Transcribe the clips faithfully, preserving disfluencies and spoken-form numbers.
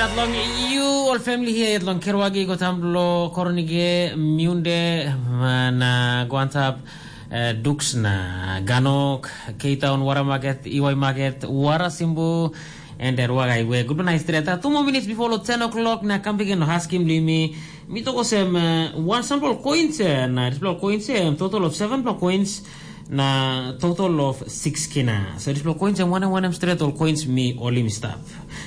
Long you all family here at long Kerwagi, Gotam lo Koronige, Miunde, na Guantap, eh, Dux na Ganok, K Town, Wara Market, Iwai Market, Wara Simbu, and then Wagai we. Good night, straight. Two more minutes before lo ten o'clock, na kam begin lo Haskim Limi. Mi toko sem, eh, one sample coins, eh, na dispela coins, eh, total of seven coins, na total of six kina. So dispela coins em wanem wanem stret ol coins mi olim stap.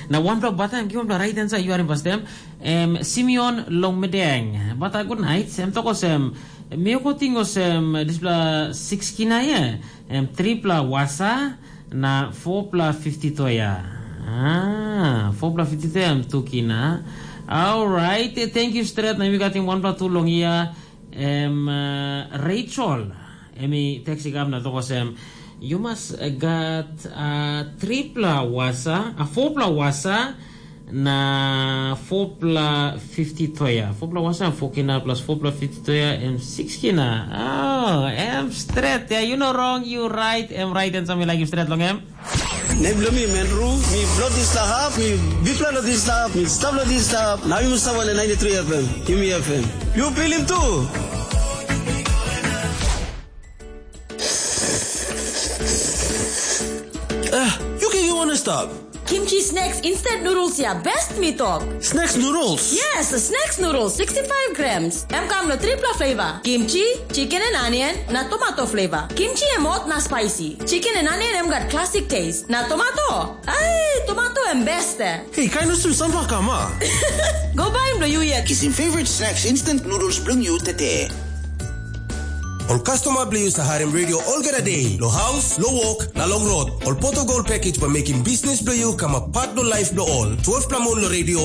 Na wanpela bata em givim pela right answer yu harim pastem. Em Simeon long medeng. Bata good night. Em tok olsem, mi oko ting olsem dispela six kina ye. Em tripla wasa na fopla fifty toya. Ah, fopla fifty toya em tu kina. Alright, eh, thank you stret. Na mi gatim wanpela tu long ia. Em, eh, Rachel, em i text i kam na tok olsem, you must, eh, gat, ah, tripla wasa, ah, fopla wasa, na fopla fifty toya. Fopla wasa, four kina plus fopla fifty toya, em six kina. Oh, em stret. Yeah, you know wrong, you right, em right, and something like you stret long em. Nem bilong mi Menru, mi bilong dispela hap, mi bikpela long dispela hap, mi stap long dispela hap, na yumi stap wantaim ninety three F M, yumi F M. Yu pilim tu? Ah, yu ken yu wanna stop? Kimchi snacks instant noodles ya best mi tok. Snacks noodles? Yes, snacks noodles sixty-five grams. Em kam lo tripla flavor. Kimchi, chicken and onion, na tomato flavor. Kimchi em hot na spicy. Chicken and onion em gat classic taste. Na tomato? Ai, tomato em best eh. Hey, kain olsem sampela kam a? Go baim lo yu yet. Kisim favorite snacks instant noodles bilong yu tete. Ol customer bilong yu sa harim radio olgeta day, lo house, lo work, na long road. Ol Portugal package bai mekim business bilong yu kamap part lo life bilong ol. Twelve pla mun lo radio,